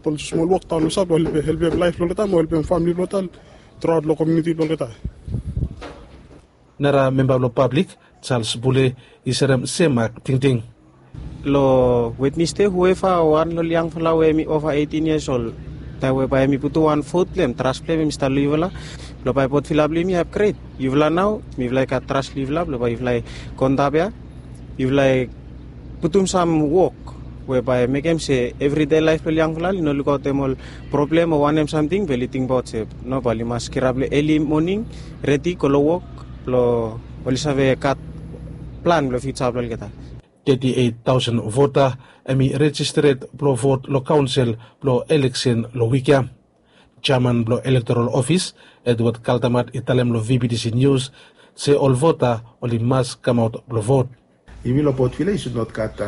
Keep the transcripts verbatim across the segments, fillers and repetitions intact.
Ol smol wok taon olsem blong helpem laef blong olgeta mo helpem famili blong olgeta, truaot long komuniti blong olgeta. Nara memba blong pablik, Charles Bule, i serem sem mak tingting. Long Wednesday, hueva wan long ol yangfala we hemi ova eighteen years old, taem we bae hemi putum wan vote blong hem, trust blong hem hemi stap long yufala, blong bae portfila blong hemi i upgrade. Yufala nao mifala i gat trust long yufala blong bae yufala i go antap ia, yufala i putum sam wok we bae mekem se evridei laef blong ol yangfala oli no lukaotem ol problem o wanem samting be oli tingbaot se no, bae oli mas kirap long eli moning, redi go long wok blong oli save gat plan blong fiuja blong olgeta. Teti eit taosen vota hemi rejistered blong vot long kaonsel blong eleksen long wik ia. Jeaman blong elektoral ofis, Edward Kaldamat, i talem long V B T C Nius se ol vota oli mas kamaot blong vot. Yumi long Port Vila i sud not gat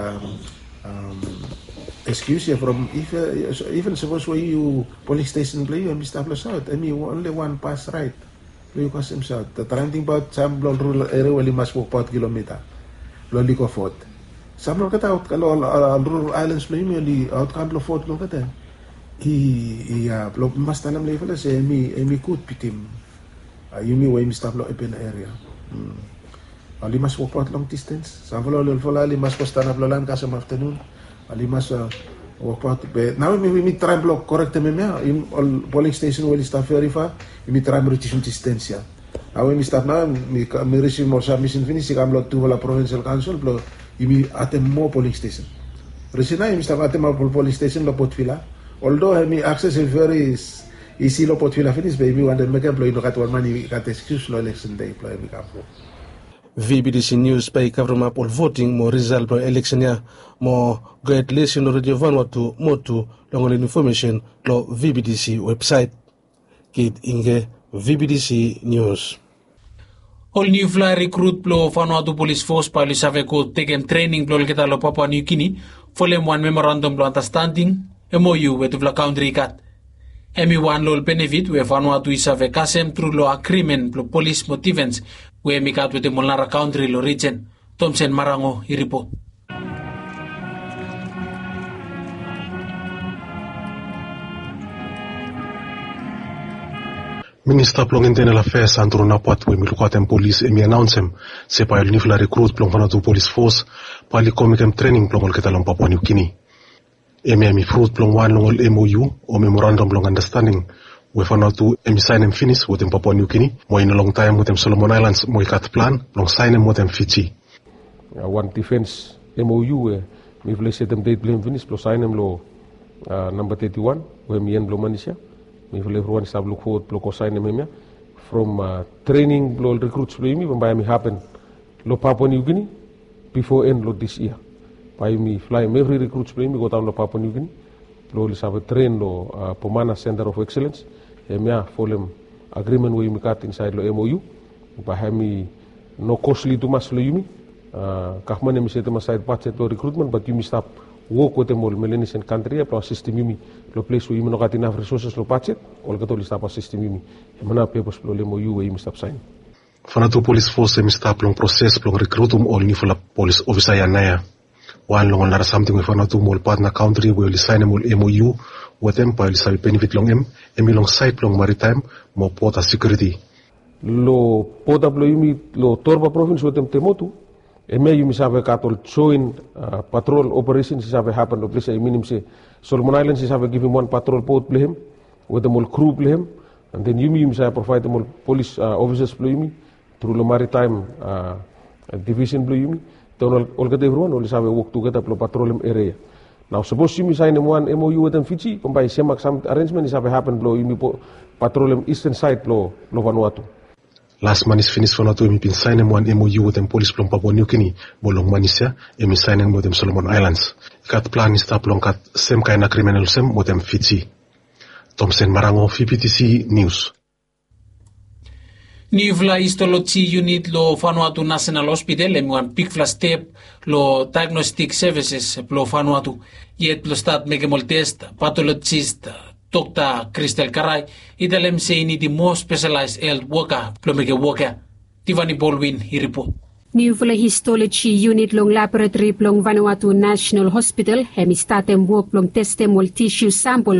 ekskius ia from iven sapos we yu poling stesen blong yu hemi stap long saot, hemi onli wan bas raed blong yu kasem saot. Traem tingbaot sam blong ol rural eria we oli mas wokbaot kilomita blong oli go vot. Sam long olgeta aot long ol rural aelans blong yumi oli aotkam blong vot long olgeta. I, i, a, blong mas talem long yufala se hemi, hemi gud bitim yumi we yumi stap long apen eria. Oli mas wokbaot long distens. Samfala ol olfala oli mas go stanap long laen kasem aftanun. Oli mas wokbaot be nao yumi traem blong korektem hemia, ol poling stesen we oli stap veri fa, yumi traem ridiusim distens ia. Nao yumi stap nao mi risivim ol sabmisen finis i kam long tufala provinsel kaonsel blong yumi adem moa poling stesen. Risen nao yumi stap ademap ol poling stesen long Port Vila. Oldo hemi akses i veri isi long Port Vila finis be yumi wantem mekem blong i no gat wan man i gat ekskius long eleksen dei blong hemi kam. V B T C Nius bae i kavremap ol voting mo risal blong eleksen ia mo gohed lisin long Redio Vanuatu mo tu long ol infomesen long V B T C websaet. Kit Ingge, V B T C Nius. Ol niufala rikrut blong Vanuatu Polis Fos bae oli save go tekem trening blong olgeta long Papua Niu Gini folem wan memorandam blong andastanding, M O U, we tufala kantri i gat. Hemi wan long ol benefit we Vanuatu i save kasem tru long agrimen blong polis mo difens we hemi gat wetem ol nara kantri long rijen. Tomsen Marango i ripot. Minista blong Internal Affairs, Andrew Napat, we hemi lukaotem polis, hemi anaonsem se bae ol niufala rikrut blong Vanuatu Polis Fos bae oli go mekem trening blong olgeta long Papua Niu Gini. Hemia hemi frut blong wan long ol M O U o memorandam blong andastanding we Vanuatu hemi saenem finis wetem Papua Niu Gini mo i no longtaem wetem Solomon Aelans mo i gat plan blong saenem wetem Fiji. Wan difens M O U we mifala i setem det blong hem finis blong saenem long namba teti wan we hemi en blong manis ia. Mifala evriwan i stap lukfowod blong go saenem hemia from trening blong ol rikruts blong yumi bambae hemi hapen long Papua Niu Gini bifo en long dis yia. Bae yumi flaem evri rikruts blong yumi godaon long Papua Niu Gini blong oli save tren long Pomana Center of Excellence. Hemia folem agrimen we yumi gat insaed long M O U. Bae hemi no kosli tumas long yumi. Gavman hemi setem asaed bajet blong rikrutmen bat yumi stap wok wetem ol Melanesian kantri ia blong asistem yumi long ples we yumi no gat inaf risoses long bajet. Olgeta oli stap asistem yumi. Hemia nao pepos blong ol M O U we yumi stap saen. Vanuatu Polis Fos hemi stap long proses blong rikrutum ol niufala polis ofisa ia naoia. Wan long ol nara samting we Vanuatu mo ol patna kantri we oli saenem ol M O U wetem bae oli save benefit long hem, hemi long saed blong maritaem mo bota sekiuriti. Long bota blong yumi long Torba provins wetem Temotu, hemia yumi save gat ol joen patrol operesens i save hapen long ples ia, i minim se Solomon Aelans i save givim wan patrol bot blong hem wetem ol kru blong hem. An den yumi yumi save provaedem ol polis ofisas blong yumi tru long maritaem divisen blong yumi. Taon olgeta evriwan oli save wok tugeta blong patrolem eria ia. Nao sapos yumi saenem wan M O U wetem Fiji bambae semak sam arenjmen i save hapen blong yumi patrolem isten saed blong Vanuatu. Las manis finis Vanuatu hemi bin saenem wan M O U wetem polis blong Papua Niu Gini mo long manis ia hemi saenem wetem Solomon Aelans. I gat plan i stap blong gat semkaen agrimen olsem wetem Fiji. Tomsen Marango, V B T C Nius. Niufala histoloji yunit long Vanuatu Nasenal Hospital hemi wan bigfala step long daegnostik sevises blong Vanuatu. Yet blong stat mekem ol tes, patolojis Dokta Kristel Karai i talem se i nidim moa spesalaes helt woka blong mekem wok ia. Tivani Bolwin i ripot. Niufala histoloji yunit long laboratori blong Vanuatu National Hospital hem i statem wok blong testem ol tisu sampol